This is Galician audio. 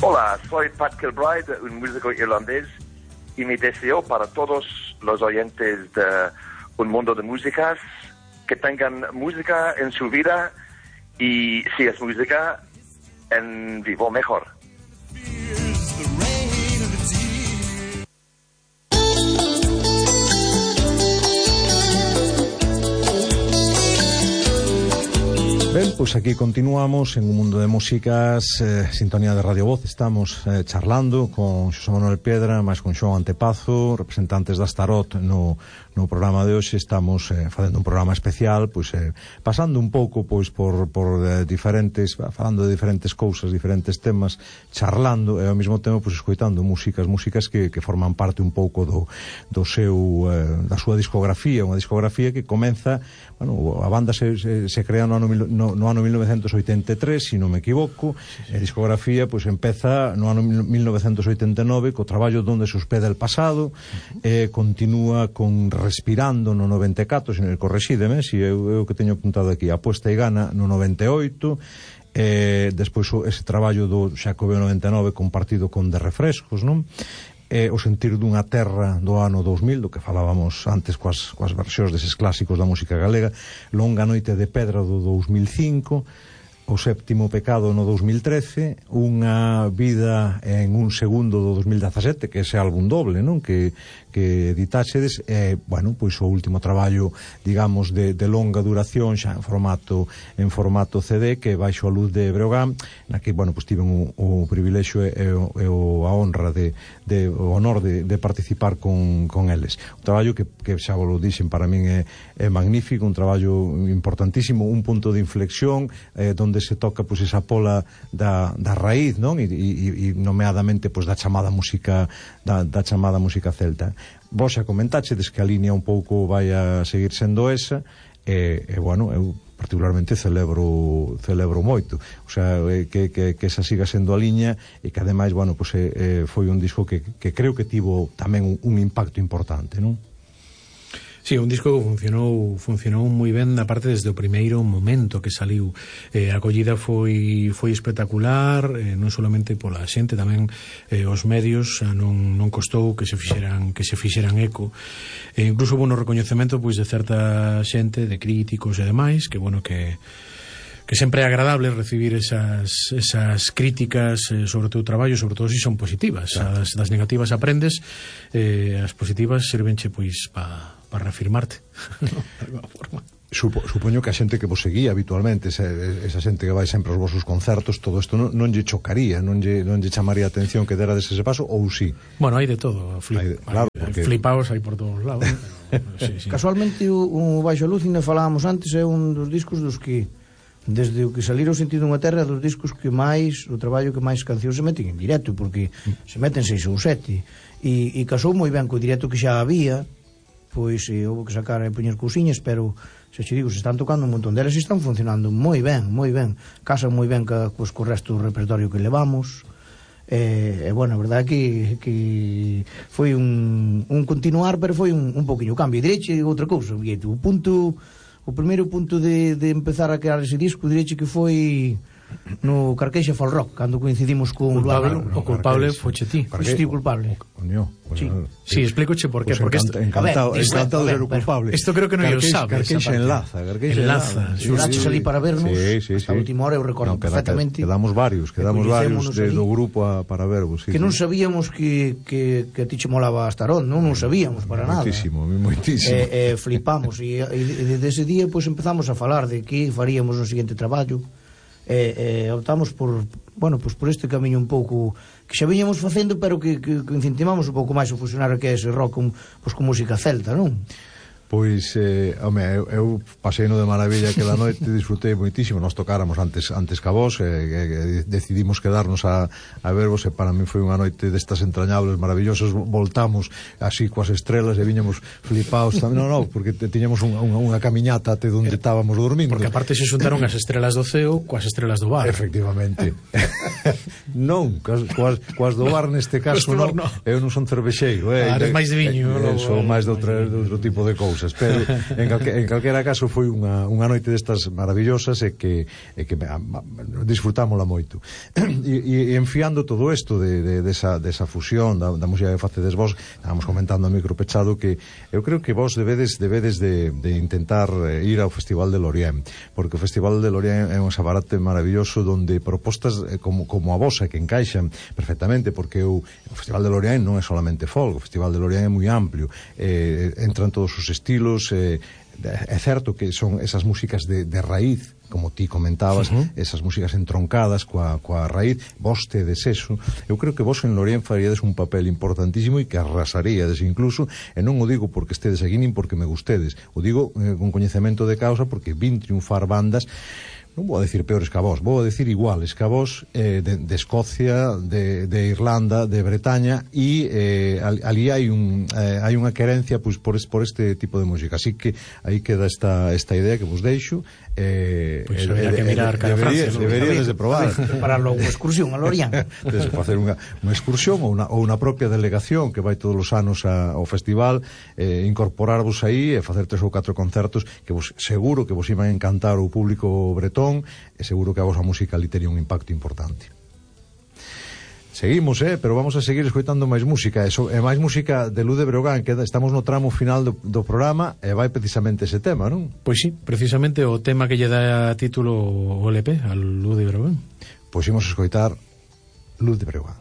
Hola, soy Pat Kilbride, un músico irlandés, y mi deseo para todos los oyentes de Un Mundo de Músicas, que tengan música en su vida y, si es música, en vivo mejor. Ben, pois aquí continuamos en Un Mundo de Músicas, sintonía de Radio Voz. Estamos charlando con Xosé Manuel Piedra, máis con Xoán Antepazo, representantes da Starot no programa de hoxe. Estamos facendo un programa especial, pois pasando un pouco pois por diferentes, falando de diferentes cousas, diferentes temas, charlando e ao mesmo tempo pois escoitando músicas que forman parte un pouco do seu da súa discografía, unha discografía que comeza, bueno, a banda se crea no ano 1983, se non me equivoco. A discografía pois empeza no ano 1989 co traballo Donde se hospeda el pasado, continúa con Respirando no 94, se non correxídeme, se eu que teño apuntado aquí, Apuesta e Gana no 98, despois ese traballo do Xacobeo 99 compartido con De Refrescos, non? O Sentir dunha terra do ano 2000, do que falábamos antes coas versións deses clásicos da música galega, Longa noite de pedra do 2005, O Séptimo pecado no 2013, Unha vida en un segundo do 2017, que ese álbum doble, non? Que editáxedes, bueno, pois o último traballo, digamos, de longa duración, xa en formato CD, que Baixo a luz de Breogán, na que, bueno, pois tiven o privilexio e a honra o honor de participar con eles. Un traballo que xa vos lo dixen, para min é magnífico, un traballo importantísimo, un punto de inflexión, donde se toca pois esa pola da raíz, non? E nomeadamente pois da chamada música celta. Vos xa comentáchedes que a línea un pouco vai a seguir sendo esa, e bueno, eu particularmente celebro moito, o sea, que esa siga sendo a liña, e que ademais, bueno, pois foi un disco que creo que tivo tamén un impacto importante, non? Sí, un disco que funcionou moi ben, aparte desde o primeiro momento que saliu. A acollida foi espectacular, non solamente pola xente, tamén os medios, non costou que se fixeran eco. Incluso hubo un recoñecemento pois de certa xente, de críticos e demais, que bueno, que sempre é agradable recibir esas críticas sobre o teu traballo, sobre todo se son positivas. Claro. Das negativas aprendes, as positivas servenche pois para reafirmarte de alguma forma. Supoño que a xente que vos seguía habitualmente, esa xente que vai sempre aos vosos concertos, todo isto non lle chocaría, non lle chamaría a atención que derades ese paso, ou sí? Bueno, hai de todo, claro, porque... flipaos hai por todos lados. Sí. Casualmente o Baixo a luz, ainda falábamos antes, é un dos discos dos que desde o que salira O Sentido dunha terra, dos discos que máis, o traballo que máis cancións se meten en directo, porque se meten 6 ou 7, e casou moi ben co directo que xa había, pois houve que sacar e poñer cousiñas, pero se che digo, se están tocando un montón delas e están funcionando moi ben, casan moi ben co resto do repertorio que levamos. Bueno, a verdade que foi un continuar, pero foi un poquinho cambio. Direche outra cousa, o primeiro punto de empezar a crear ese disco, direche que foi no Carqueixa Folk Rock, cando coincidimos con o culpable foche ti. Foche ti culpable. Sí, explícoche por qué. Porque encantado de ser o culpable. Isto creo que non o sabes. Carqueixa enlaza. Enlaza ali para vernos. Hasta a última hora eu recordo perfectamente. Quedamos varios do grupo para vervos. Que non sabíamos que a ti che molaba a Starot, non sabíamos para nada. Moitísimo. Flipamos e desde ese día empezamos a falar de que faríamos no seguinte traballo. Optamos por este camiño un pouco que xa viñamos facendo, pero que incentivamos un pouco máis o fusionar que é ese rock con música celta, non? Pois, home, eu pasei no de maravilla aquela noite, disfrutei moitísimo. Nós tocáramos antes ca vos, decidimos quedarnos a vervos, e para mí foi unha noite destas entrañables, maravillosas. Voltamos así coas estrelas e viñamos flipaos tamén, non, porque tiñamos unha camiñata até onde estábamos dormindo. Porque aparte se xuntaron as estrelas do ceo coas estrelas do bar. Efectivamente. Non, coas do bar neste caso non. Eu non son cervexeiro, eres máis de viño. Son máis de outro tipo de cousas. cousas, pero en calquera caso foi unha noite destas maravillosas e que disfrutámola moito. E enfiando todo isto desa fusión da música que facedes vos, estábamos comentando a micro pechado que eu creo que vos debedes de intentar ir ao Festival de Lorient, porque o Festival de Lorient é un escaparate maravilloso donde propostas como a vosa que encaixan perfectamente, porque o Festival de Lorient non é solamente folk, o Festival de Lorient é moi amplio, entran todos os estilos, é certo que son esas músicas de raíz, como ti comentabas, esas músicas entroncadas coa raíz, vos tedes eso. Eu creo que vos en Lorient faríades un papel importantísimo e que arrasaríades incluso, e non o digo porque estedes aquí nin porque me gustedes, o digo con coñecemento de causa, porque vin triunfar bandas, non vou a decir peores que a vos, vou a decir iguales que a vos, de Escocia, de Irlanda, de Bretaña, e ali hai unha querencia pois por este tipo de música, así que aí queda esta idea que vos deixo. Pois habría que mirar cara a Francia, deberíades de probar para logo unha excursión a Lorient, de facer unha excursión ou unha propia delegación que vai todos os anos ao festival, incorporarvos aí e facer 3 ou 4 concertos que vos seguro que vos iban a encantar o público bretón, e seguro que a vosa música ali tería un impacto importante. Seguimos, pero vamos a seguir escoitando máis música, e máis música de Luz de Breogán, que estamos no tramo final do programa, e vai precisamente ese tema, non? Pois sí, precisamente o tema que lle dá título o LP, a Luz de Breogán. Pois imos escoitar Luz de Breogán.